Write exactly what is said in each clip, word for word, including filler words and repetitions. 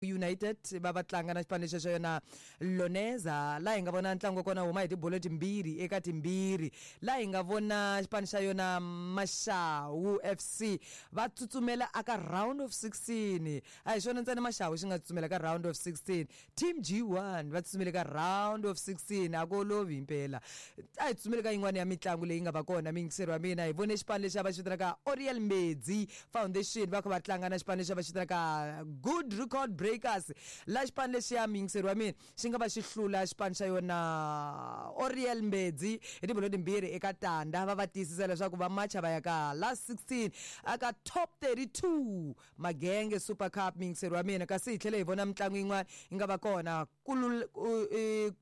United va va tlanga na xipano lexi xa yona Loneza laha hi nga vona ntlangu wa kona huma hi tibolo timbirhi eka timbirhi laha hi nga vona xipano xa yona Mashawu F C va tsutsumela aka round of sixteen a hi xona ntsena Mashawu xi nga tsutsumela ka round of sixteen Team G one va tsutsumele ka round of sixteen a ku olovi impela a hi tsutsumele ka yin'wana ya mitlangu leyi nga va kona miyingiseri wa mina hi vone xipano lexi a va xi vitanaka Oriel Mbedzi Foundation va kha va tlanga na xipano lexi a va xi vitanaka Good Record Breakers la xipano lexi ya miyingiseri wa mina xi nga va xi hlula xipano xa yona Oriel Mbedzi hi tibolo timbirhi eka tanda va va tiyisisa leswaku va macha va ya ka last sixteen aka top thirty-two Magenge Super Cup miyingiseri wa mina kasi hi tlhele hi vona mitlangu yin'wana yi nga va kona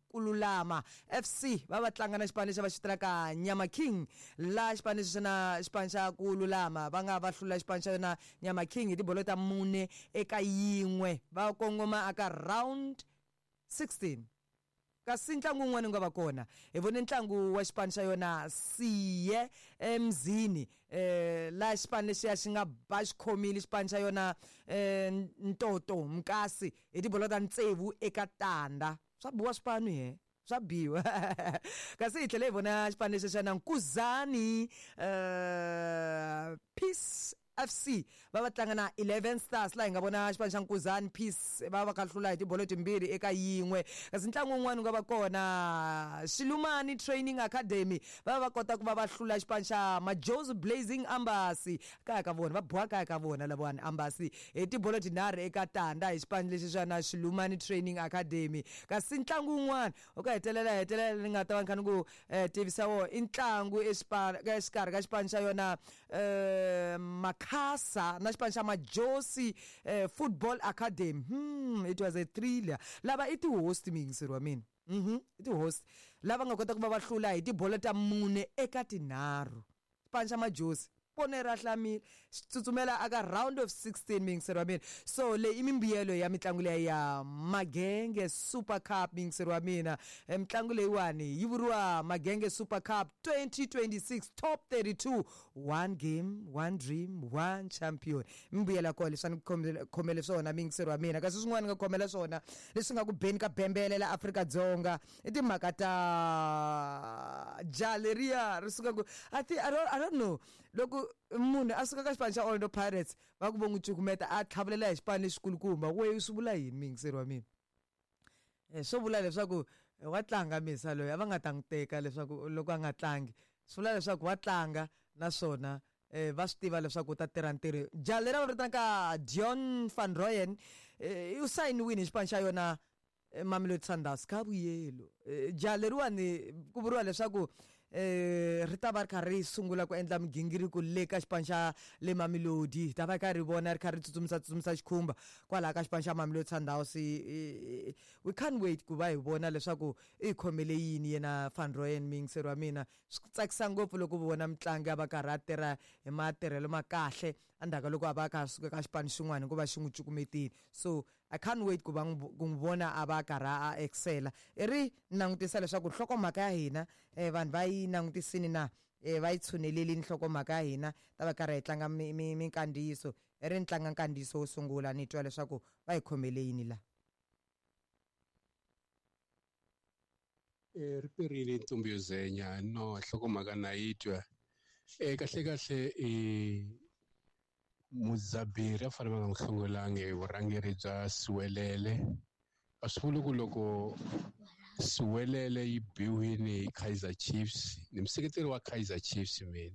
Kululama F C va va tlanga na xipano lexi va xi vitanaka Nyama King la xipano lexi na xipano xa Kululama va nga va hlula xipano xa yona Nyama King hi tibolo ta mune eka yin'we va kongoma aka round sixteen kasi ntlangu wun'wana wu nga va kona hi vone ntlangu wa xipano xa yona Siye Emzini eh la xipano lexiya xi nga ba xi khomile xipano xa yona eh Ntoto Mkasi hi tibolo ta tsevu eka tanda swa biwa swipano he swa biwa kasi hi tlhele hi vona xipano lexi xa na Nkuzani eh Peace F C va va tlanga na eleven Stars laha hi nga vona xipano xa Nkuzani Peace va va kha hlula hi tibolo timbirhi eka yin'we kasi ntlangu wun'wana wu nga va kona Xilumani Training Academy va va kota ku va va hlula xipano xa Majozi Blazing Ambasi kaya ka vona va boha kaya ka vona lavawani Ambasi hi tibolo tinharhu eka tanda hi xipano lexi xa na Xilumani Training Academy kasi ntlangu wun'wana u ka hetelela hetelela ni nga ta va ni kha ni ku tivisa wo i ntlangu exikarhi ka xipano xa yona Makhasa na xipano xa Majosi eh, Football Academy hmm, it was a thriller lava i ti-host miyingiseri wa mina mhm i ti-host lava nga kota ku va va hlula hi tibolo ta mune eka tinharhu xipano xa Majosi pone ra hlamile xi tsutsumela aka round of sixteen miyingiseri wa mina so leyi i mimbuyelo ya mitlangu leyi ya Magenge Super Cup miyingiseri wa mina mitlangu leyiwani yi vuriwa Magenge Super Cup twenty twenty-six top thirty-two one game one dream one champion mimbuyelo ya kona leswi a ni khomele swona miyingiseri wa mina kasi swin'wana ni nga khomela swona leswi nga ku beni ka bembele la Afrika-Dzonga i timhaka ta ja leriya ri suka ku I think I don't, I don't know loko munhu a suka ka xipano xa Orlando Pirates va ku vo n'wi cukumeta a tlhavulela hi xipano lexikulukumba we swi vula yini miyingiseri wa mina eh swo vula leswaku wa tlanga misa loyi a va nga ta n'wi teka leswaku loko a nga tlangi swi vula leswaku wa tlanga naswona eh va swi tiva leswaku u ta tirha ntirho ja leri va vitanaka Dion van Rooyen u sayiniwile hi xipano xa yona Mamelodi Sundowns ka vuyelo ja leriwani ku vuriwa leswaku eh ri ta va ri kha ri sungula ku endla migingiriko le ka xipano xa le Mamelodi hi ta va kha ri vona ri kha ri tsutsumisa tsutsumisa xikhumba kwalaha ka xipano xa Mamelodi Sundowns we can't wait ku va hi vona leswaku i khomele yini yena Van Rooyen miyingiseri wa mina swi tsakisa ngopfu loko vona mutlangi a va karhi a tirha hi matirhelo ma kahle endzhaku ka loko a va a kha a suka ka xipano xin'wana hikuva xi n'wi cukumetile so I can't wait ku va ku n'wi vona a va karhi a excela i ri langutisa leswaku nhlokomhaka ya hina eh vanhu va yi langutisini na eh va yi tshunelelini nhlokomhaka ya hina ta va karhi hi tlanga minkandziyiso i ri ni tlanga nkandziyiso wo sungula ni twa leswaku va hi khomele yini la eh ri perile ntombi yo zenya no nhlokomhaka na yi twa eh kahle kahle eh Muzaberi a fanele va nga n'wi hlongolangi hi vurhangeri bya Siwelele a swi vuli ku loko Siwelele yi biwile hi Kaizer Chiefs ni museketeri wa Kaizer Chiefs mina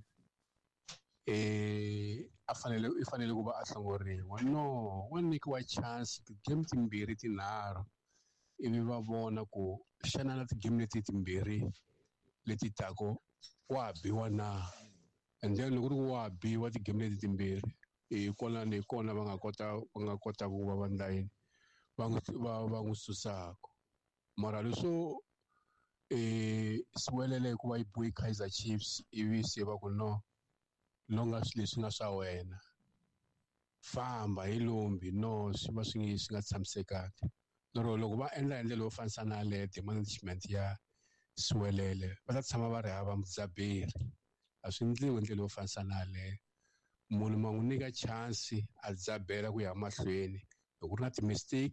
eh a fanele i fanele ku va a hlongoriwa no wa nyikiwa chance ti-game timbirhi tinharhu ivi va vona ku xana na ti-game leti timbirhi leti tako wa biwa na and then loko ku ri ku wa biwa ti-game leti timbirhi hi kona ni kona va nga kota va nga kota ku va va ndla yini va n'wi va va n'wi susaka mara leswo eh Siwelele hikuva yi biwe Kaizer Chiefs ivi se va ku no longa swilo leswi nga swa wena famba hi lombi no swi va swi swi nga tshamisekanga lero loko va endla hi ndlela yo fanisa na yaleyo management ya Siwelele va ta tshama va ri hava mudzaberi a swi endliwi hi ndlela yo fanisa na yaleyo munhu ma n'wi nyika chance a dzabela ku ya mahlweni Loko ku ri na ti-mistake.